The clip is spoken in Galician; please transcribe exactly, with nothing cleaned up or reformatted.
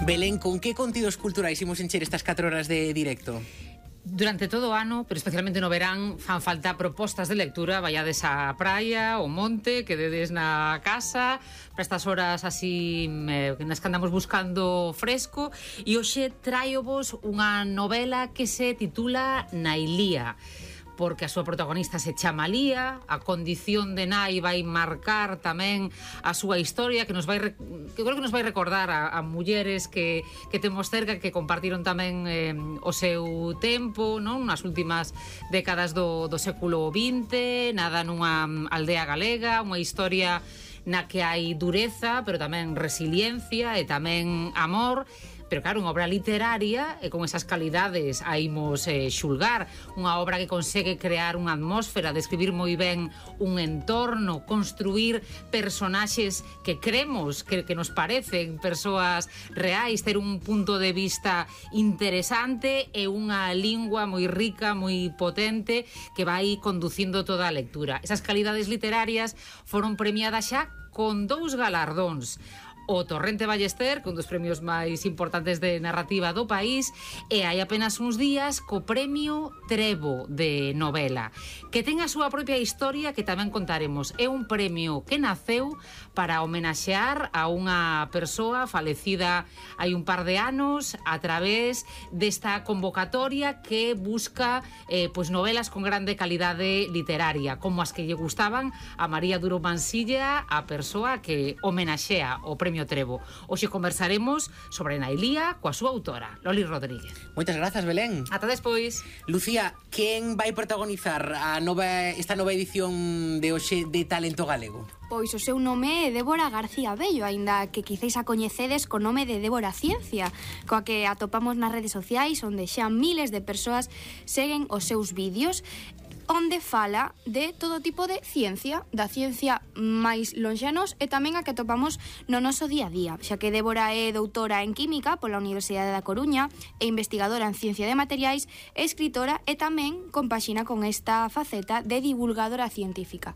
Belén, con que contidos culturais imos encher estas catro horas de directo? Durante todo o ano, pero especialmente no verán, fan falta propostas de lectura. Vaiades á praia, ao monte, quededes na casa para estas horas así eh, nas que andamos buscando fresco. E hoxe traio-vos unha novela que se titula Nailía, porque a súa protagonista se chama Lía. A condición de nai vai marcar tamén a súa historia, que nos vai que creo que nos vai recordar a, a mulleres que, que temos cerca, que compartiron tamén eh, o seu tempo, non? Nas últimas décadas do, do século vinte, nada nunha aldea galega, unha historia na que hai dureza, pero tamén resiliencia e tamén amor. Pero claro, unha obra literaria e con esas calidades a imos eh, xulgar, unha obra que consegue crear unha atmósfera, describir moi ben un entorno, construir personaxes que cremos, que, que nos parecen persoas reais, ter un punto de vista interesante e unha lingua moi rica, moi potente, que vai conducindo toda a lectura. Esas calidades literarias foron premiadas xa con dous galardóns: o Torrente Ballester, con dos premios máis importantes de narrativa do país, e hai apenas uns días co premio Trevo de novela, que ten a súa propia historia que tamén contaremos. É un premio que naceu para homenaxear a unha persoa falecida hai un par de anos a través desta convocatoria que busca eh, pois novelas con grande calidade literaria, como as que lle gustaban a María Duro Mansilla, a persoa que homenaxea o premio Trevo. Hoxe conversaremos sobre Nailía coa súa autora, Loli Rodríguez. Moitas grazas, Belén. Ata despois. Lucía, quen vai protagonizar a nova, esta nova edición de hoxe de Talento Galego? Pois o seu nome é Débora García Bello, aínda que quizáis a coñecedes co nome de Débora Ciencia, coa que atopamos nas redes sociais, onde xa miles de persoas seguen os seus vídeos, onde fala de todo tipo de ciencia, da ciencia máis lonxanos e tamén a que atopamos no noso día a día, xa que Débora é doutora en Química pola Universidade da Coruña e investigadora en Ciencia de Materiais, escritora e tamén compaxina con esta faceta de divulgadora científica.